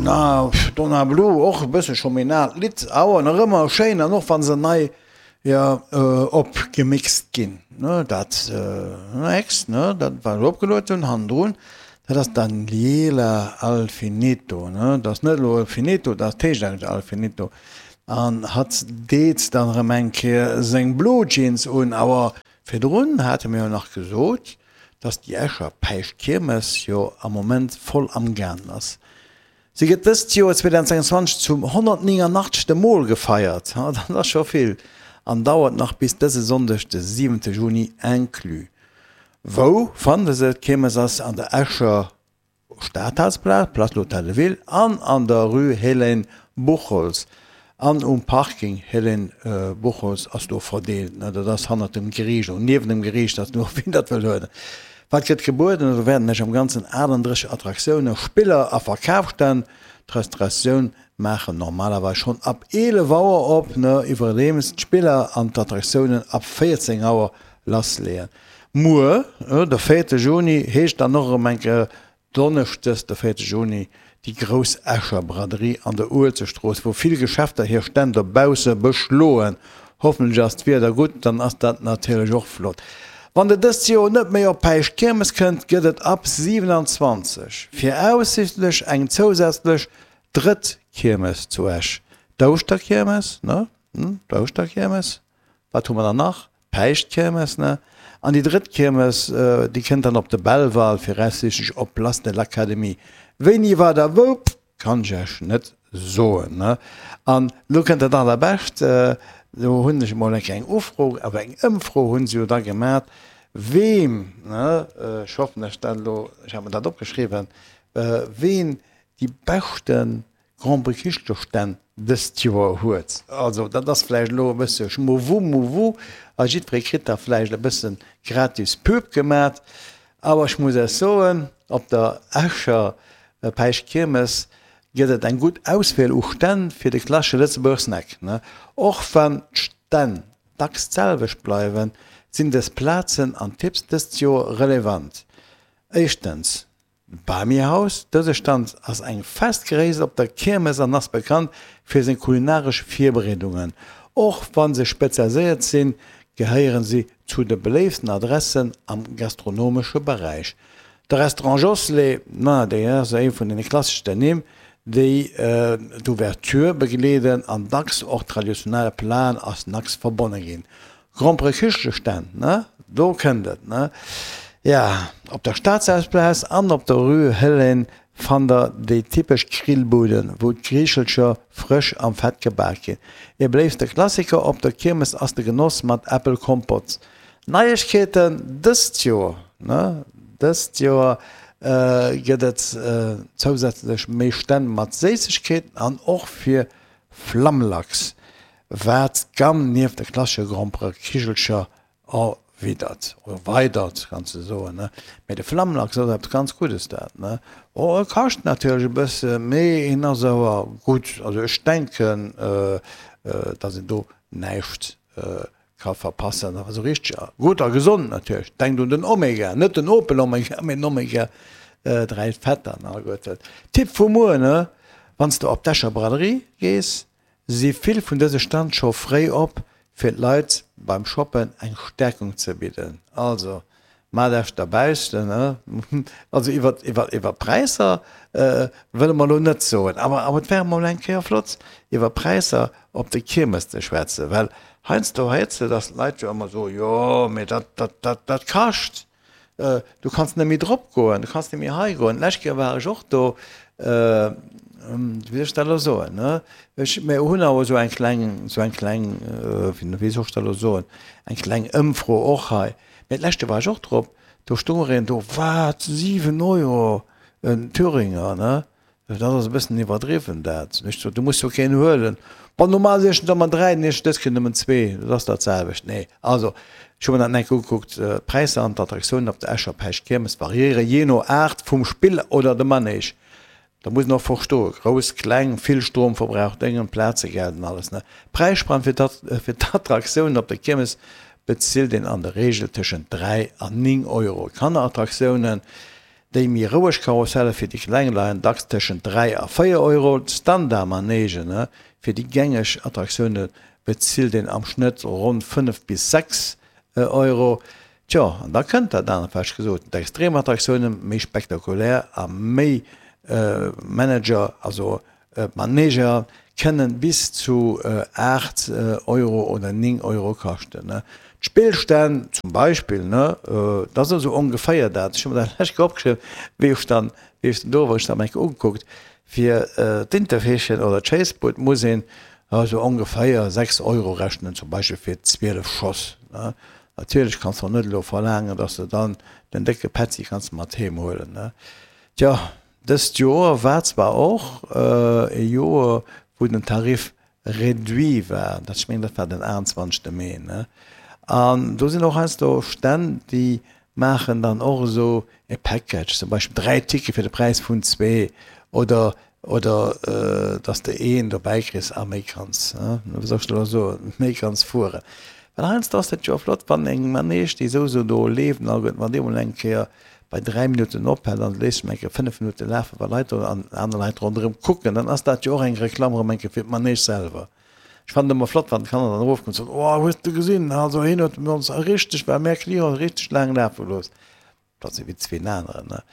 Donna, Donna Blue, och e bësse scho méi en aalt Lidd, awer nach ëmmer schéin an och wa se nei, jo, opgemixt ginn, ne, dat nächst, ne, dat wat ech opgeluet hunn hannendrun, dat ass Daniela Alfinito, ne, dat ass net elo Finito, dat heescht eigentlech Alfinito an hatt deet dann erëm eng Kéier seng Blue Jeans un, awer virdrun hate mir jo nach gesot, dass déi Escher Päischtkiermes jo am Moment voll am gaangen ass. Si gëtt dëst Joer 2026 zum 189. Mol gefeiert, dat ass scho vill, an dauert nach bis dëse Sonndeg, de 7 Juni inclus. Wou fannt e se? D'Kiermes ass an der Escher Stadhausplaz, Place de l'Hôtel de Ville, an an der Rue Hélène Buchholtz an um Parking Hélène Buchholtz ass do verdeelt. Dat ass hannert dem Geriicht oder niewent dem Geriicht, ass no wien dat wëll huelen. Wat gëtt gebueden? Do wäerten lech am Ganzen 38 Attraktiounen, Spiller a Verkafsstänn. D'Restauratioun maachen normalerweis schonn ab 11 Auer op, iwwerdeems d'Spiller an d'Attraktiounen ab 14 Auer lassleeën. Muer, de véierte Juni, heescht dann och erëm eng Kéier Donneschdes, de véierte Juni, déi grouss Escher Braderie an der Uelzechtstrooss, wou vill Geschäfter hir Stänn dobausse beschloen. Hoffentlech ass d'Wieder gutt, dann ass dat natierlech och flott. Wann der dëst Joer net méi op Päischtkiermes kënnt, gëtt et ab 27 viraussichtlech eng zousätzlech drëtt Kiermes zu Esch, d'Ouschterkiermes, ne? D'Ouschterkiermes. Wat hu mer dann nach? D'Päischtkiermes, ne? An déi drëtt Kiermes, déi kënnt dann op de Belval, viraussiichtlech op Place de l'Académie. Wéini, wat a wou, kann ech Iech net soen, ne? An elo kënnt dat Allerbescht, do hunn ech emol eng kleng Ufro, awer eng Ëmfro hu se jo da gemat, weem, ne, ech hoffen, ech dat elo, ech hat mer dat opgeschriwwen, ween déi beschte Grand-Prix-Kichelcherstänn dëst Joer huet. Also dat ass vläicht elo e bësse Schmowu-Muwu a jiddweree kritt da vläicht e bësse gratis Pub gemat. Awer ech muss Iech soen, op der Escher Päischtkiermes gëtt et eng gutt Auswiel u Stänn fir de klassesche Lëtzebuerger Snack. Och wann d'Stänn dacks d'selwecht bleiwen, sinn dës Plazen an Tipps dëst Joer relevant. Éischtens, D'Bami-Haus, Dëse Stand ass eng fest Gréisst op der Kiermes an ass bekannt fir seng kulinaresch Virbereedungen. Och wa se spezialiséiert sinn, gehéiere si zu de beléiftsten Adressen am gastronomesche Beräich. De Restaurant Josselé, ma dee ass ee vun deene klasseschsten Nimm, déi d'Ouverture begleeden an dacks och traditionelle Platen a Snacks verbonne ginn. Gromperekichelestänn, ne? Do kënnt et, ne? Ja, op der Staatshausplaz an op der Rue Hélène fannt der déi typesch Grillbuden, wou d'Kichelcher frësch am Fett gebak ginn. Ee beléifte Klassiker op der Kiermes ass de Genoss mat Äppelkompott. Neiegkeeten dëst Joer, ne? Dëst Joer gëtt et zousätzlech méi Stänn mat Séissegkeeten an och fir Flammlachs. Wat d'Gamm nieft de klassesche Gromperekichelcher erwidert, oder weidert, kanns de soen, ne? Mee de Flammlachs ass eppes ganz Guddes, dat, ne? Oh, e kascht natierlech e bësse, mee en ass awer gutt. Also ech denken, dass een do näischt ka verpassen. Awer esou richteg gutt a gesond natierlech. Denkt un den Omega, net den Opel Omega, mee den Omega 3 Fetter an alleguerten. Tipp vu muer, ne? Wann s de op d'Escher Braderie gees, Si vill vun dëse Stand scho fréi op, fir d'Leit beim Shoppen eng Stärkung ze bidden. Also maacht Iech derbaussen, also iwwer iwwer Präisser wëlle mer elo net soen, awer awer et wär emol eng Kéier flott iwwer Präisser op de Kiermes ze schwätzen, well heiansdo héiers de, datt d'Leit jo ëmmer soen, jo mee dat dat dat dat kascht. Du kanns net méi drop goen, du kanns net méi hei goen. D'lescht Kéier war ech och do, wéi soll ech dat elo soen, ne? Ech, mir hunn awer esou eng kleng, esou eng kleng, wéi soll ech dat elo soen, eng kleng Ëmfro och hei. Mee d'lescht Kéier war ech och drop, do stoung ereen do, wat, 7 Euro en Thüringer, ne? Dat ass e bëssen iwwerdriwwen dat. Ech sot, du muss jo keen huelen. Bon, normal siech der ëmmer 3, den ech dës Kéier nëmmen zwee, dat ass dat selwecht. Nee, also ech hu mer dat enk ugekuckt, d'Präisser an d'Attraktiounen op der Escher Päischt-Kiermes variéiere jee no Aart vum Spill oder dem Manege. Da muss een och verstoen, grouss, kleng, vill Stromverbrauch, Déngen, Plazegeld an alles, ne. D'Präisspann fir d'Attraktiounen op der Kiermes bezilt een an der Reegel tëschent 3 an 9 Euro. Kannerattraktiounen. Déi méi roueg Karusselle fir déi Kleng leien dacks tëschent 3 a 4 Euro. D'Standard-Manegen fir déi gängeg Attraktioune bezilt een am Schnëtt ronn 5 bis 6 Euro. Tjo, an da kënnt dat anert, wat ech gesot hunn, d'Extremattraktiounen, méi spektakulär a méi Manager, also d'Maneger kënnen bis zu 8 Euro oder 9 Euro kaschten. D'Spillstänn zum Beispill, dat ass esou ongeféier dat, ech hu mer dat lech opgeschriwwen, wéi ech dann, wéi ech dann do war, ech dat mer eng Kéier ugekuckt, fir d'Interfeechen oder d'Schéissbud muss een esou ongeféier 6 Euro rechnen, zum Beispill fir 12 Schoss. Natierlech kanns de och net elo verlaangen, dass de dann den décke Petzi kanns mat heem huelen. Tjo, dëst Joer war zwar och e Joer, wou den Tarif réduit war, dat, ech mengen, dat war den 28. Mee, ne? An do sinn och heiansdo Stänn, déi maachen dann och esou e Package, zum Beispill 3 Tickete fir de Präis vun zwee oder Oder dass de een dobäi kriss a méi kanns, wéi soll ech dat elo soen, méi kanns fueren. Well heiansdo ass dat jo flott, wann eng Manege, déi souwisou do leeft, an alleguerten, wann déi emol eng Kéier bei 3 Minutten ophält an léisst se eng Kéier 5 Minutte lafen, wa Leit do an aner Leit ronderëm kucken, dann ass dat jo och eng Reklamm erëm eng Kéier fir d'Manege selwer. Ech fannen et ëmmer flott, wann d'Kanner dann erofkommen an soen, Oh, hues de gesinn, also hien huet ons richteg, well mär Clienten richteg laang lafe gelooss. Dat si wéi zween aneren, ne?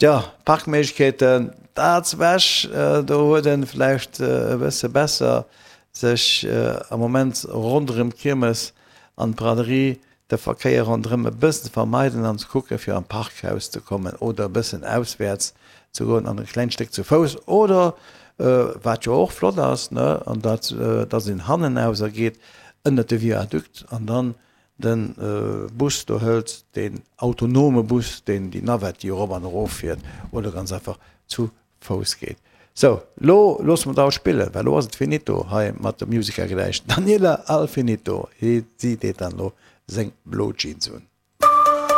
Tja, Parkméiglechkeeten, dat zu Esch, do huet en vläicht e bësse besser sech am Moment ronderëm d'Kiermes an d'Braderie de Verkéier ronderëm e bëssen ze vermeiden an ze kucken, fir an d'Parkhaus ze kommen oder e bëssen auswäerts ze goen an e klengt Stéck zu Fouss oder, wat jo och flott ass, ne, an dat, dass een hannenaus ergeet ënnert de Viadukt an dann Den Bus do hëlt, deen autonome Bus, deen déi Navette, déi erop an erof fiert, oder ganz einfach zu Fouss geet. Sou, lo loosse mer d'Aul spillen, well lo ass et finito hei mat der Musica gläich. Daniela Alfinito, si deet dann lo seng blo Jeans un.